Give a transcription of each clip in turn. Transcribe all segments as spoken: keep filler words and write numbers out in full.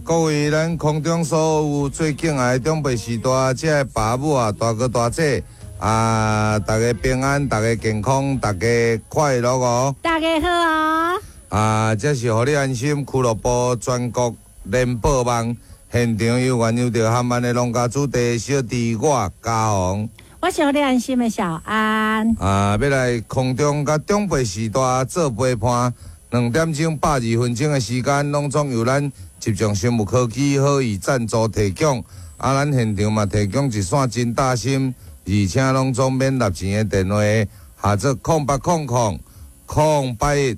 各位咱空中所有最敬愛的長輩序大，這个爸母啊，大哥大姐啊，大家平安，大家健康，大家快樂哦！大家好哦！啊，這是予你安心俱樂部全國聯播網現場有緣有著含萬的農家子弟小弟我嘉宏，我是予你安心的小安。啊，欲來空中佮長輩序大做陪伴，兩點鐘百二分鐘的時間，攏總由咱集眾生物科技好意贊助提供。啊，咱現場嘛提供一線真貼心，而且攏總免納錢的電話，號做空八空空空八一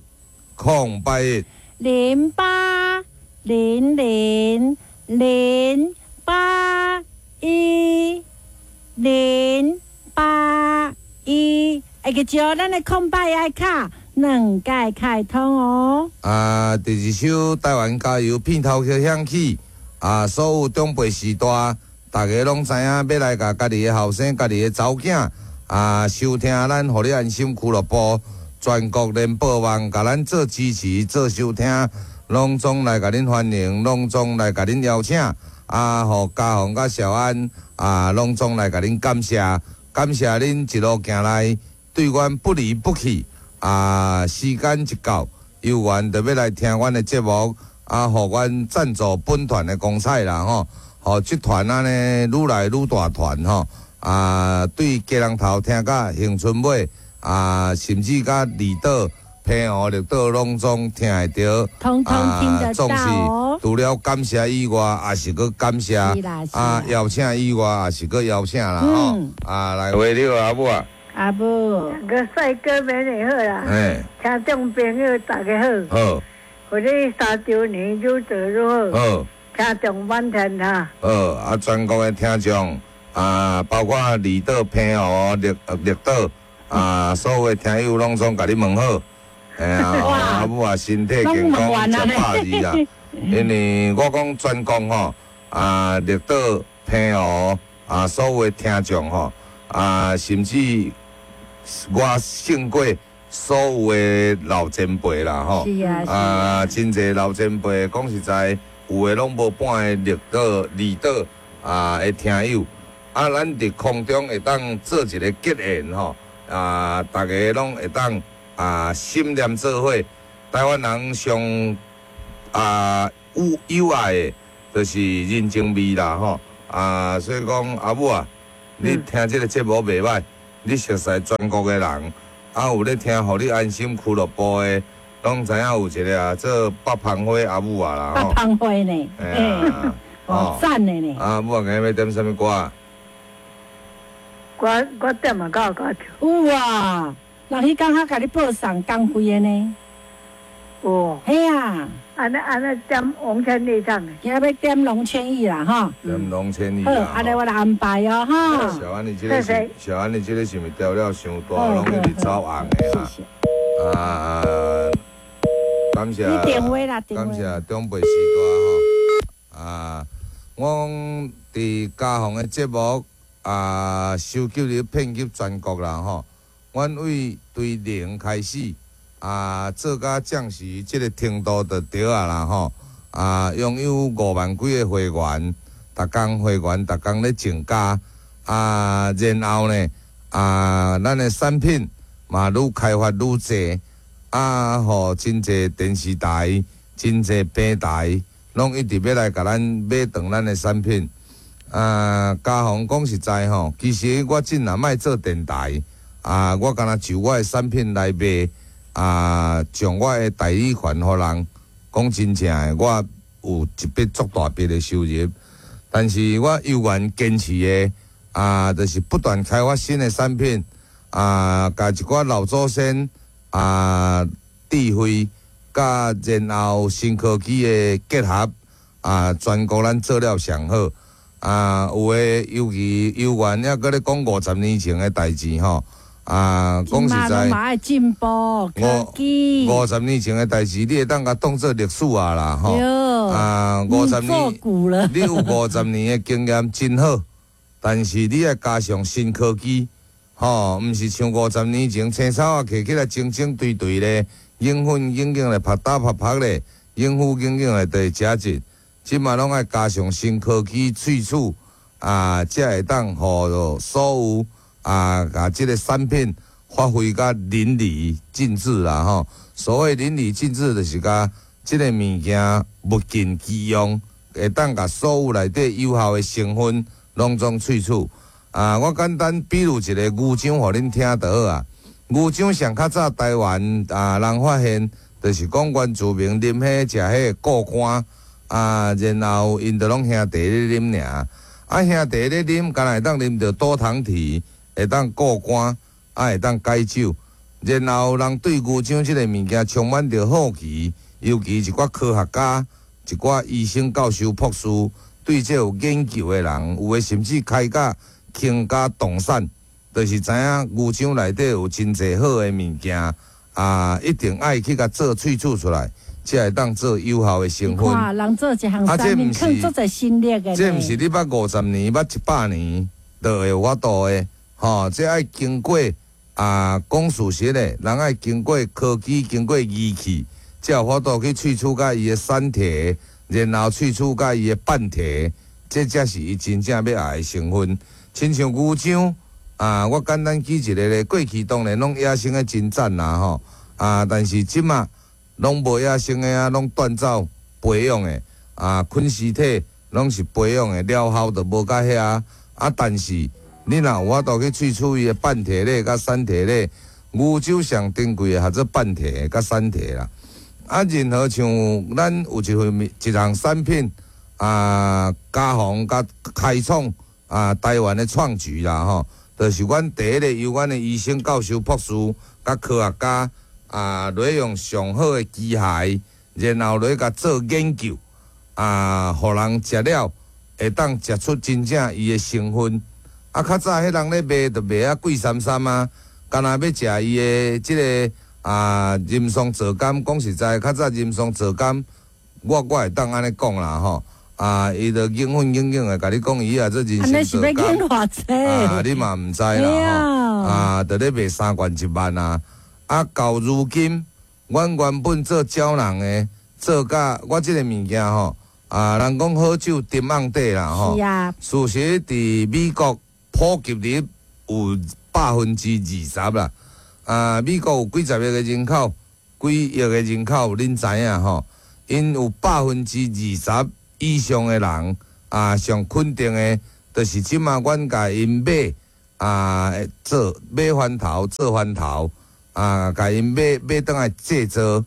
空八一零八零零零八一零八一，會記著咱的空八一卡兩屆開通哦。啊，第二首台灣加油片頭曲響起，啊，所有長輩序大，大家攏知影欲來共家己的後生、家己的查某囝啊，收聽咱予你安心俱樂部全國聯播網，共咱做支持、做收聽，攏總來共恁歡迎，攏總來共恁邀請，啊，予嘉宏佮小安啊，攏總來共恁感謝，感謝恁一路行來對阮不離不棄。啊，時間一到，有緣就欲來聽阮的節目，啊，予阮贊助本團的光彩啦吼，予這團按呢愈來愈大團吼，啊，對基隆頭聽到恆春尾，啊，甚至佮離島、澎湖、綠島攏總聽會著，通通聽得總到哦是除了感謝以外，也是閣感謝是啦是啦啊，邀請以外，也是閣邀請啦吼嗯，啊，來喂，你好阿母啊，阿母，兩個帥哥美女好啦，嘿，聽眾朋友大家好，好，予你三週年愈做愈好，好。聽眾滿天下，好，啊，全國的聽眾啊，包括離島、澎湖、綠綠島啊，所有的聽友攏總共你問好。嘿啊，阿母啊，身體健康，食百二啊。因為我講全國吼，啊，綠島、澎湖啊，所有的聽眾吼，啊，甚至我勝過所有的老前輩啦吼。是啊，是啊，啊，真濟老前輩講實在，有的攏無半个綠島、離島啊的聽友，啊，咱佇空中會當做一个結緣吼，啊，逐家攏會當啊心念做伙。台灣人上啊有有愛的，就是人情味啦吼，啊，所以講阿母啊，你聽這个節目袂䆀，你熟似全國的人，啊，有咧聽予你安心俱樂部的，攏知影有一个啊，做北芳花阿母啊啦北吼，芳花呢，嘿啊，哦，讚的呢，啊，母啊，今日欲點啥物歌？我我點嘛夠夠唱，有啊，人彼工較共你報送工費的呢，有，嘿啊，按呢按呢點王千里唱的，今日欲點龍千億啦吼，點龍千里好，啦。按呢我來安排哦吼，小安，你這个是小安，你這个是毋是調料傷大，攏一直走紅的謝啊？謝。啊，感謝。你電話啦，電感話。謝長輩序大吼。啊，我佇嘉宏的節目啊，收集入遍及全國啦吼。阮對對零開始啊，做甲暫時這个程度就對啊啦吼。啊，擁有五萬幾个會員，逐工會員逐工咧增加啊，然後呢啊，咱的產品嘛愈開發愈濟。啊，予真濟電視台、真濟平台，攏一直欲來共咱買斷咱的產品。啊，嘉宏講實在吼，其實我真若莫做電台，啊，我干焦就我的產品來賣，啊，將我的代理權予人。講真正的，我有一筆足大筆的收入，但是我猶原堅持的，啊，就是不斷開發新的產品，啊，共一寡老祖先。啊，智慧佮然後新科技的結合，啊，全國咱做了上好。啊，有的尤其猶原猶閣咧講五十年前的代誌吼，啊，講實在，嘛愛進步科技。五十年前的代誌，你會當共當做歷史啊啦，吼。啊，五十年，你有五十年的經驗真好，但是你愛加上新科技。吼，毋是像五十年前青草仔摕起來整整對對咧，鷹粉硬硬咧，拍打拍拍咧，應付硬硬咧，就會食一。這馬攏愛加上新科技萃取啊，才會當予所有啊，共這个產品發揮甲淋漓盡致啦吼。所謂淋漓盡致，就是共這个物件物盡其用，會當共所有內底有效的成分攏總萃取。啊，我簡單比喻一个牛樟，予恁聽就好啊。牛樟上較早台灣啊，人發現，就是講原住民啉彼食彼個固肝啊，然後𪜶就攏兄弟咧啉爾。啊，兄弟咧啉，敢若會當啉著多糖體，會當固肝，啊，會當解酒。然後人對牛樟這个物件充滿著好奇，尤其一寡科學家、一寡醫生、教授、博士，對這有研究的人，有的甚至開甲傾家動產，就是知影牛樟內底有真濟好的物件，啊，一定愛去共做萃取出來，才會當做有效的成分。看人做一項產品，囥足濟心力的。這毋是你捌五十年、捌一百年就會有法度的，吼！這愛經過啊，講事實的，人愛經過科技、經過儀器，才有法度去萃取佮伊的散體，然後萃取佮伊的半體，這才是伊真正欲愛的成分。親像牛樟啊，我簡單舉一个例，過去當然攏野生的真讚啦吼，啊，但是這馬攏無野生的啊，攏斷走培養的啊，菌絲體攏是培養的，療效就無佮遐啊。但是你若有法度去萃取伊的半體咧，佮散體咧，牛樟上珍貴的，合做半體佮散體啦。啊，任何像咱有一份一項產品啊，加防佮開創啊，台灣的創舉啦吼，就是阮第一个由阮的醫生、教授、博士佮科學家啊，來用上好的機械，然後來共做研究啊，予人食了會當食出真正伊的成分。啊，較早彼人咧賣，就賣啊貴參參啊，敢若欲食伊的這个啊人參皂苷，講實在，較早人參皂苷，我我會當按呢講啦吼。啊，伊就硬粉硬硬的，共你講伊啊做人參皂苷，啊，你嘛毋知啦吼，啊，就咧賣三罐一萬啊，啊，到如今，阮原本做膠囊的，做甲我這个物件吼，啊，人講好酒沉甕底啦吼，是啊，事實佇美國普及率有百分之二十啦，啊，美國有幾十億个人口，幾億个人口，恁知影吼？𪜶有百分之二十以上的人啊，上肯定的，就是這馬阮共𪜶買啊，做買番頭做番頭啊，共𪜶買買轉來製造，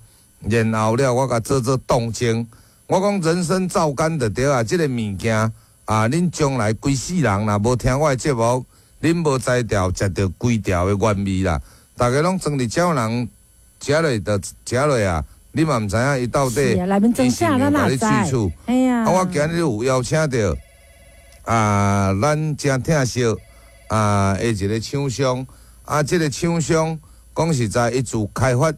然後了我共做做凍精。我講人參皂苷就對啊，這个物件啊，恁將來規世人若無聽我的節目，恁無才調食著規條的原味啦。逐家攏裝佇膠囊食落就食落啊，你嘛毋知影伊到底伊是毋是共你萃取。啊，我今日有邀請著啊，咱誠疼惜啊，的一个廠商啊，這个廠商講實在，伊自開發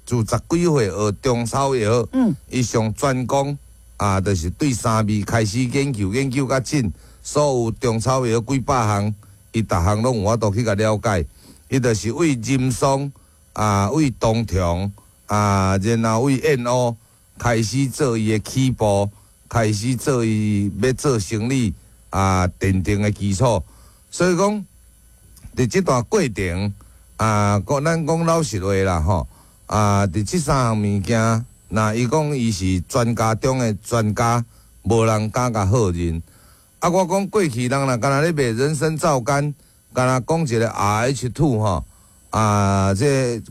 自十幾歲學中草藥，伊上專攻啊，就是對三味開始研究，研究較真，所有中草藥幾百項，伊逐項攏有法度去共了解。伊就是為人參啊，為冬蟲啊，然後為燕烏開始做伊的起步，開始做伊欲做生意啊，奠定的基礎。所以講，佇這段過程啊，講咱講老實話啦吼，啊，佇這三項物件，若伊講伊是專家中的專家，無人敢共否認。啊，我講過去人若敢若咧賣人參皂苷，敢若講一个 R H two 吼，啊，這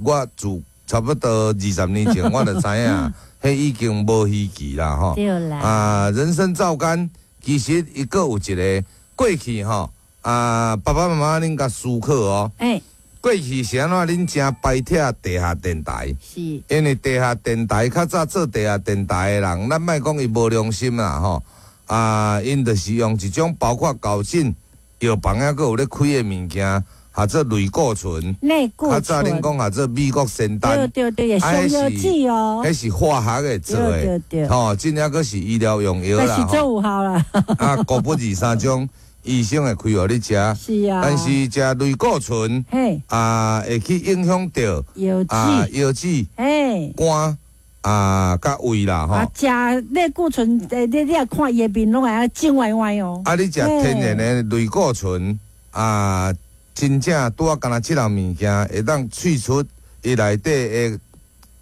我自差不多二十年前我就知影，彼已經無稀奇啦吼。對啦。啊，人參皂苷其實伊閣有一个過去吼，啊，爸爸媽媽恁共思考哦。欸。過去是按怎恁誠排斥地下電台？是。因為地下電台較早做地下電台的人，咱莫講伊無良心啦吼。啊，𪜶就是用一種包括搞進藥房抑閣有咧開的物件，合做類固醇。類固醇。較早恁講合做美國仙丹。對對對，上藥劑哦。彼是化學的做的。對對對。吼，這抑閣是醫療用藥啦。但是做有效啦。啊，高不二三種醫生會開予你食。是啊。但是食類固醇，嘿，啊，會去影響著腰子、啊，腰子、嘿，肝。啊，佮胃啦吼。啊，食類固醇，欸，你你若看伊的面攏會按呢腫歪歪哦。啊，你食天然的類固醇啊，真正拄仔敢若這項物件會當萃出伊內底的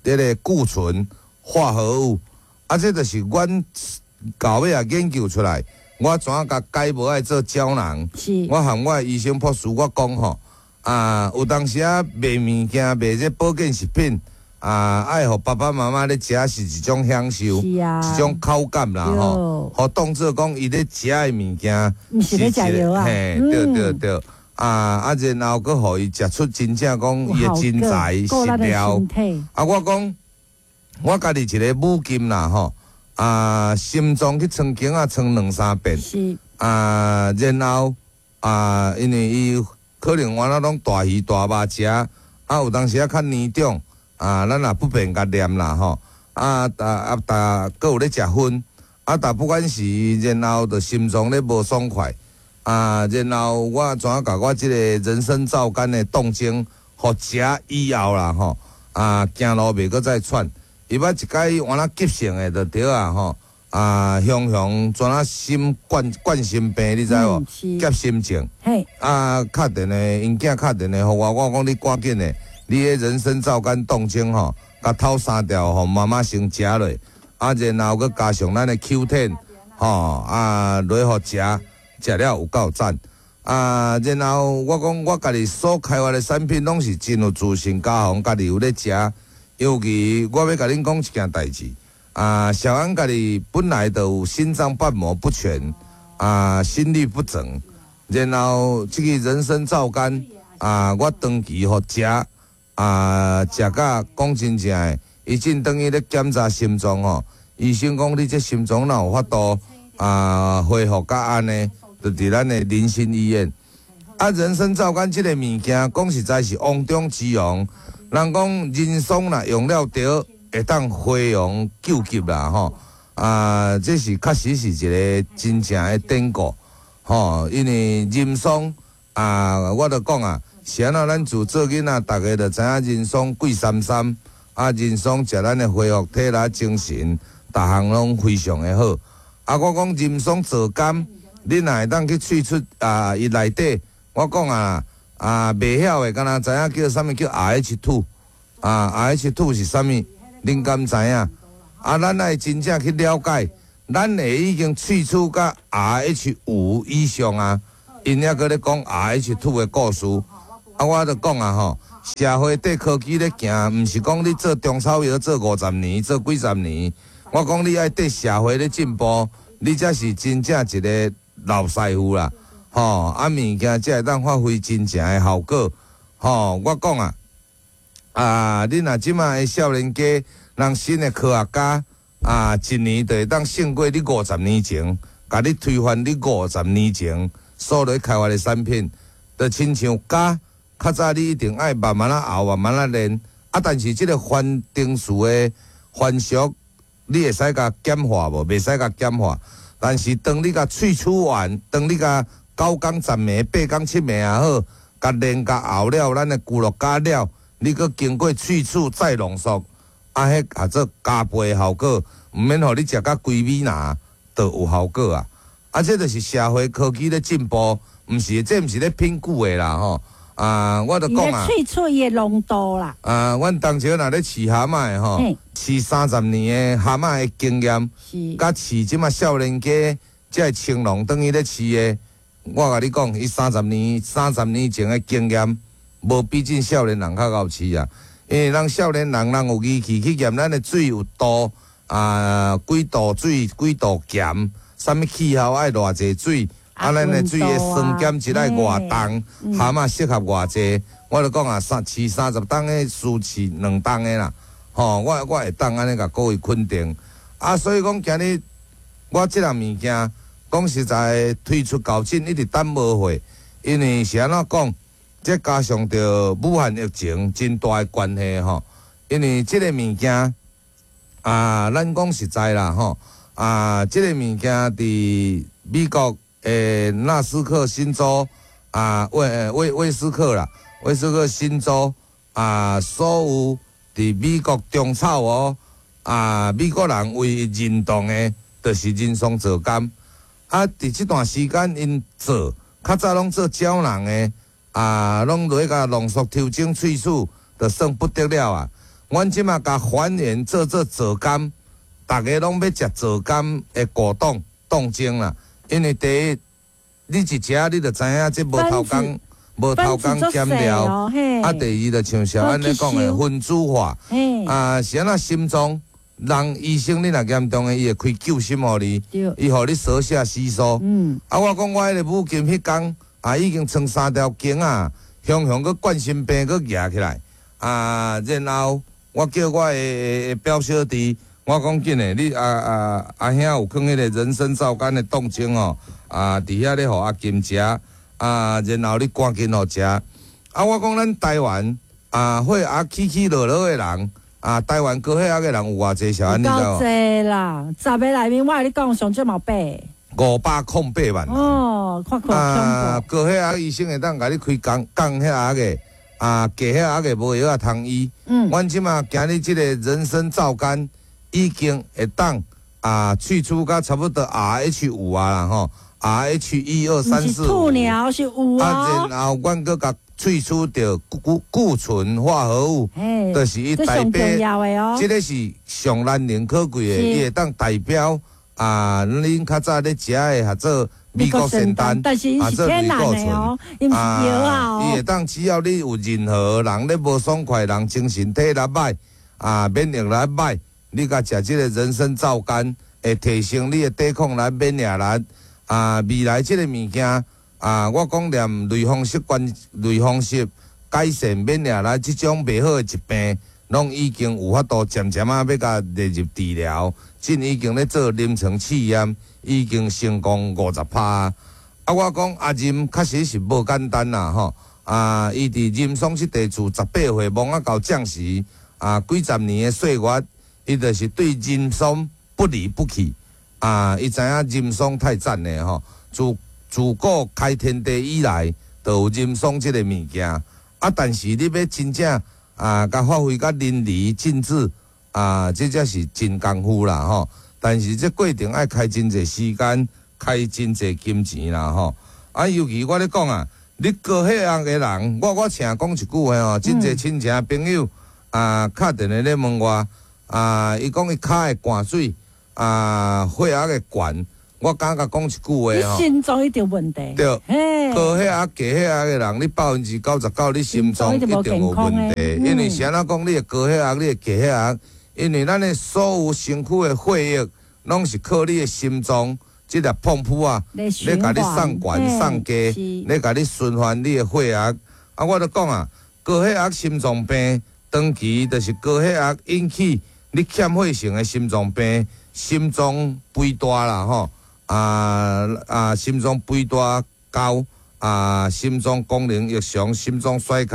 這个固醇化合物，啊，這就是阮到尾啊研究出來，我怎樣共改無愛做膠囊？是。我和我的醫生博士我講吼，啊，有當時啊賣物件賣這保健食品。啊，愛予爸爸媽媽咧食是一種享受，是啊，一種口感啦吼。予當做講伊咧食的物件，毋是咧食藥啊。嘿，對對對。啊啊，然後閣予伊食出真正講伊的真材實料。啊，我講我家己一个母金啦吼，啊，心臟去穿鏡仔穿兩三遍。是。啊，然後啊，因為伊可能原來攏大魚大肉食，啊，有當時仔較年長。啊，咱也不便共念啦吼，啊，啊啊，但閣有咧食薰，啊，但不管是然後就心臟咧無爽快，啊，然後我怎共我這个人參皂苷的凍精，予食以後啦吼，啊，行路袂閣再喘，伊捌一擺換那急性的就對啊吼，啊，雄雄怎啊心冠冠心病你知無？夾心症，啊，敲電話，𪜶囝敲電話予我，我講你趕緊的。你的人參皂苷凍精吼，共透三條，予媽媽先食落，啊，然後閣加上咱的 Q 十，吼，啊，落予食，食了有夠讚。啊，然後我講我家己所開發的產品攏是真有自信，家訪家己有咧食。尤其我欲共恁講一件代誌，啊，小安家己本來就有心臟瓣膜不全，啊，心律不整，然後這個人參皂苷，啊，我長期予食。啊，食甲講真正的，伊進轉去咧檢查心臟吼，醫生講你這心臟哪有法度啊恢復甲按呢？就佇咱的林心醫院。啊，人參皂苷這个物件，講實在是王中之王。人講人參若用了著，會當回陽救急啦吼。啊，這是確實是一个真正的典故吼，因為人參啊，我就講啊。是按怎？咱自做囡仔，逐家就知影人參貴三三，啊，人參食咱的恢復體力、精神，逐項攏非常的好。啊，我講人參皂苷，你若會當去萃出啊，伊內底，我講啊啊，袂曉的，敢若知影叫啥物叫 R H two 啊，R H two 是啥物？恁敢知影？啊，咱愛真正去了解，咱會已經萃取甲 R H 五以上啊，𪜶猶閣咧講 R H two 的故事。啊，我就講啊吼，社會綴科技咧行，毋是講你做中草藥做五十年，做幾十年。我講你愛綴社會咧進步，你才是真正一个老師傅啦，吼！啊，物件才會當發揮真正的效果，吼！我講啊，啊，你若這馬的少年家，人新的科學家啊，一年就會當勝過你五十年前，共你推翻你五十年前所咧開發的產品，就親像鉀。較早你一定愛慢慢仔熬，慢慢仔煉，啊！但是這个反丁素的反式，你會使共簡化無？袂使共簡化。但是當你共萃取完，當你共九工十暝、八工七暝也好，共煉共熬了，咱的龜鹿膠了，你閣經過萃取再濃縮，啊，彼合做加倍的效果，毋免予你食甲規米拿，就有效果啊！啊，這就是社會科技咧進步，毋是這毋是咧拼久的啦吼。啊，我就講啊，萃取伊的濃度啦。啊，阮當初若咧飼蛤蟆的吼，飼三十年的蛤蟆的經驗，佮飼這馬少年家，這个青龍轉去咧飼的，我共你講，伊三十年、三十年前的經驗，無比這少年人較𠢕飼啊。因為咱少年人，人有儀器去驗咱的水有度啊，幾度水，幾度鹹，啥物氣候愛偌濟水。啊，咱的水的酸鹼值愛偌重，蛤蟆適合偌濟。我就講啊，三飼三十冬的輸飼兩冬的啦，吼，我我會當按呢共各位肯定。啊，所以講今日我這項物件講實在推出到今一直等無貨，因為是按怎講？這加上著武漢疫情真大的關係吼，因為這个物件啊，咱講實在啦吼，啊，這个物件佇美國的納斯克新州啊，威威威斯克啦，威斯克新州啊，所有佇美國中草哦，啊，美國人唯一認同的，就是人參皂苷。啊，佇這段時間，𪜶做較早攏做膠囊的，啊，攏落去共濃縮調整萃取，就算不得了啊！阮這馬共還原做做皂苷，逐家攏欲食皂苷的果凍凍精啦。因為第一，你一食你就知影這無偷工，無偷工減料。啊，第二就像小安咧講的分子化，啊，是按怎心臟？人醫生你若嚴重的，伊會開救心予你，伊予你舌下吸收。嗯，啊，我講我彼个母親彼工啊，已經穿三條頸仔，雄雄閣冠心病閣夯起來。啊，然後我叫我的表小弟，我講緊的，你阿阿阿兄有囥彼個人參皂苷的凍精哦，啊，佇遐咧予阿金食，啊，然後你趕緊予食。啊，我講咱台灣啊，血壓起起落落的人。啊，台灣高血壓的人有偌濟？小安你知無？夠濟啦，十个內面我共你講上少嘛八。五百空八萬。哦，看看啊，高血壓醫生會當共你開降降血壓的，啊，低血壓的無藥仔通醫。嗯。阮這馬今日這個人參皂苷已經會當啊，萃取到差不多 R H 五啊啦吼，R H 一二三四五。兔鳥是有啊。啊，然後阮閣共萃取著固固醇化合物，就是伊代表，這個是上難能可貴的，伊會當代表啊，恁較早咧食的合做美國仙丹，但是伊是天然的哦，伊毋是藥啊。伊會當只要你有任何人咧無爽快，人精神體力歹啊，免疫力歹，你共食這個人參皂苷，會提升你的抵抗力、免疫力啊，未來這個物件。啊！我講連類風濕關類風濕改善免疫力這種袂好的疾病，攏已經有法度漸漸仔欲共列入治療，這已經咧做臨床試驗，已經成功五十趴。啊，我講阿任確實是無簡單啦，吼！啊，伊佇人參這地自十八歲摸仔到將時，啊，幾十年的歲月，伊就是對人參不離不棄。啊，伊知影人參太讚咧，吼！自自古開天地以來，就有人參這個物件。啊，但是你欲真正啊，共發揮甲淋漓盡致啊，這才是真功夫啦，吼！但是這過程愛開真濟時間，開真濟金錢啦，吼！啊，尤其我咧講啊，你高血壓的人，我我成日講一句話吼，真濟親戚朋友啊，敲電話咧問我啊，伊講伊跤會灌水啊，血壓會懸。我敢共講一句話吼，心臟一定有問題。對，高血壓、低血壓的人，你百分之九十九，你心臟一定有問題。因為是按怎講？你的高血壓，你的低血壓，因為咱的所有身軀的血液，攏是靠你的心臟這粒泵浦啊，咧共你送懸送低，咧共你循環你的血壓。啊，我就講啊，高血壓心臟病，長期就是高血壓引起你欠血性的心臟病，心臟肥大啦，吼。啊啊！心臟肥大高啊，心臟功能異常，心臟衰竭，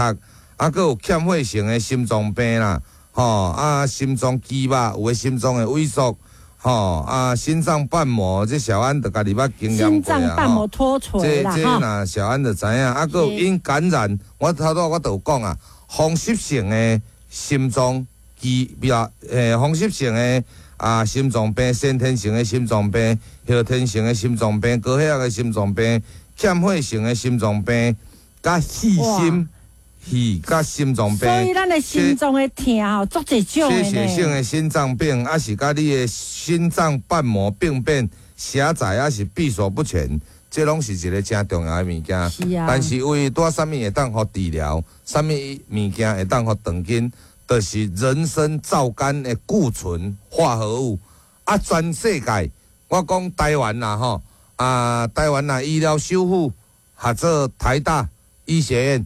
啊，閣有欠血性的心臟病啦，吼啊，心臟肌肉有的心臟會萎縮，吼啊，心臟瓣膜這小安就家己捌經驗過啊，心臟瓣膜脫垂啦，這這若小安就知影，啊，閣有因感染，我頭拄我就有講啊，風濕性的心臟肌，比如欸，風濕性的。啊，心臟病、先天性的心臟病、後天性的心臟病、高血壓的心臟病、欠血性的心臟病，佮氣心、氣佮心臟病。所以咱的心臟的疼吼，足濟種的。缺血性的心臟病，抑是佮你的心臟瓣膜病變狹窄，抑是閉鎖不全，這攏是一个誠重要的物件。是啊。但是為拄啥物會當予治療，啥物物件會當予斷根？就是人參皂苷的固醇化合物啊！全世界，我講台灣啦吼啊，台灣啦醫療修復合做台大醫學院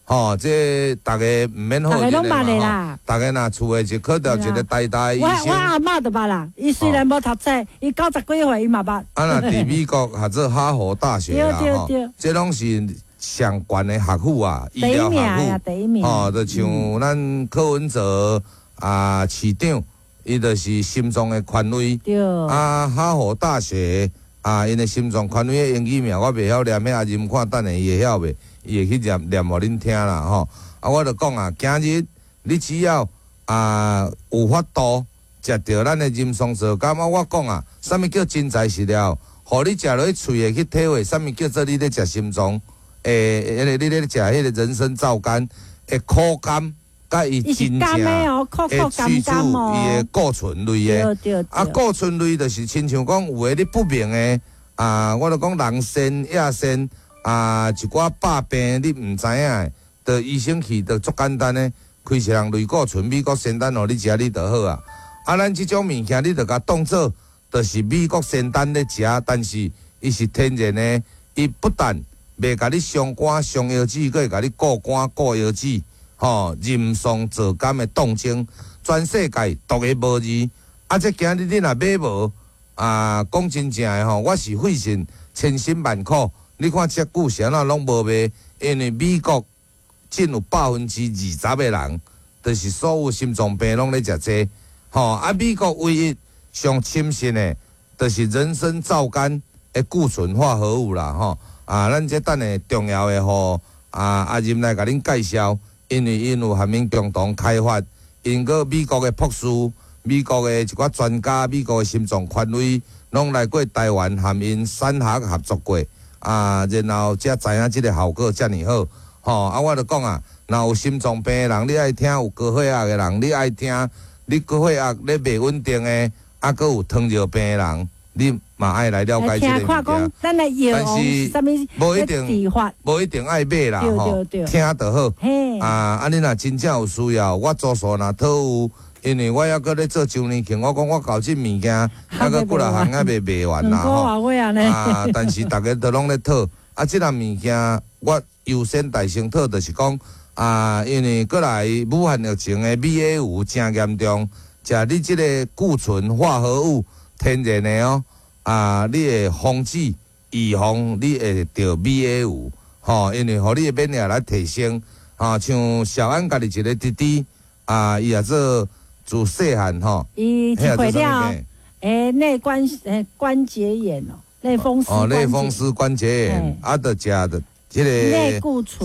吼，這逐家毋免好認的嘛吼。逐家若厝的就考著一個台大醫生。我我阿嬤就捌啦，伊雖然無讀冊，伊九十幾歲伊嘛捌。啊，若佇美國合做哈佛大學啦吼，這攏是上懸的學府啊，醫療學府，吼，就像咱柯文哲啊市長，伊就是心臟的權威。對。啊，哈佛大學啊，𪜶的心臟權威的英語名我袂曉念，彼阿任看等下伊會曉袂？伊會去念念予恁聽啦吼。啊，我就講啊，今日你只要啊有法度食著咱的人參皂苷啊！我講啊，啥物叫真材實料？予你食落去喙會去體會，啥物叫做你咧食心臟？欸，迄個你咧食彼個人參皂苷的苦甘，佮伊真正會去除伊的固醇類的。啊，固醇類就是親像講有的你不明的啊，我著講人腎、野腎啊，一寡百病你毋知影的，著醫生去著足簡單的，開一項類固醇、美國仙丹予你食，你就好啊。啊，咱這種物件你著共當做，就是美國仙丹咧食，但是伊是天然的，伊不但袂共你傷肝傷腰子，閣會共你顧肝顧腰子，吼，人參皂苷的凍精，全世界獨一無二。啊，這今日你若買無啊，講真正的吼，我是費盡千辛萬苦。你看這久是按怎攏無賣，因為美國佔有百分之二十的人，就是所有心臟病攏咧食這，吼啊，美國唯一上深信的，就是人參皂苷的固醇化合物啦，吼啊，咱這等下重要的予啊阿任來共恁介紹，因為𪜶有和𪜶共同開發，𪜶閣美國的博士、美國的一寡專家、美國的心臟權威，攏來過台灣和𪜶產學合作過，啊，然後才知影這个效果遮爾好，吼啊，我就講啊，若有心臟病的人，你愛聽；有高血壓的人，你愛聽；你高血壓咧袂穩定的，啊，閣有糖尿病的人，你嘛愛來了解這个物件。但是無一定，無一定愛買啦，吼，聽就好。啊，啊，你若真正有需要，我多數若討有，因為我猶閣咧做周年慶，我講我搞這物件，猶閣幾若項猶未賣完啦，吼。啊，但是逐家都攏咧討，啊，這項物件我優先大先討，就是講啊，因為過來武漢疫情的 B A 五誠嚴重，食你這个固醇化合物天然的哦。啊！你會防止、預防你會著 B A 五，吼，因為予你的免疫力來提升，吼，像小安家己一个弟弟，啊，伊也做自細漢吼，伊一歲了，欸，內關欸關節炎哦，類風濕哦，類風濕關節炎，啊，著食著這个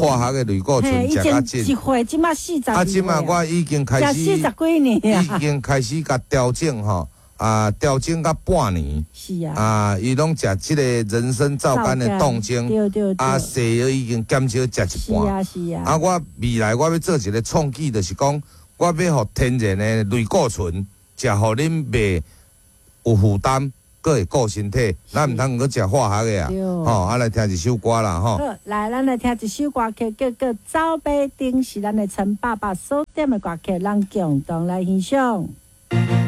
化學的類固醇食較緊，一歲這馬四十，啊，這馬我已經開始，四十幾年已經開始共調整吼。啊，調整甲半年，是啊，啊，伊攏食這个人參皂苷的凍精，對對對，啊，西藥已經減少食一半，是啊是啊。啊，我未來我欲做一个創舉，就是講我欲予天然的類固醇，食予恁袂有負擔，閣會顧身體，咱毋通閣食化學的啊，吼，啊來聽一首歌啦，吼。好，來，咱來聽一首歌曲，叫做《走馬燈》，是咱的陳爸爸所點的歌曲，咱共同來欣賞。